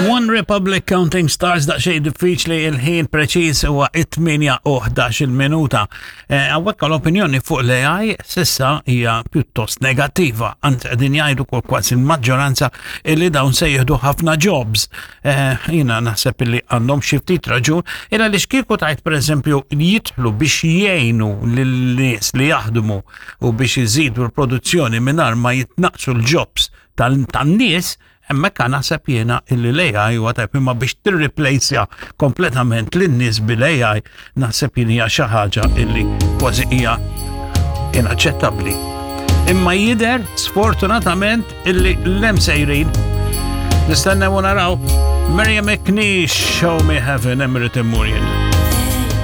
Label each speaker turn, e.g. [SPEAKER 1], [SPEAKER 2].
[SPEAKER 1] One Republic Counting Stars daqsxejn diffiċli il-ħin preċiż huwa 8 u 11 minuta. Eh, hawnhekk l-opinjoni fuq l-AI sissa hija pjuttost negattiva, anzi qegħdin jgħidu kol kważi l-maġġoranza illi dawn se jieħdu ħafna jobs. Eh, jiena naħseb illi għandhom xi ftit raġun, illa li xkieku tajt pereżempju jidħlu biex jgħinu lin-nies li jaħdmu u biex iżidu l-produzzjoni mingħajr ma jitnaqsu l-jobs tan-nies, hemmhekk naħseb jiena illi l-AI huwa tajb imma biex tirriplejsja kompletament lin-nies bil-AI naħseb jien hija xi ħaġa illi kważi hija inaċċettabbli. Imma jidher sfortunatament illi l-hemm sejrin. Nistennew u naraw. Miriam McNeish, Show Me Heaven, Emirates Murien.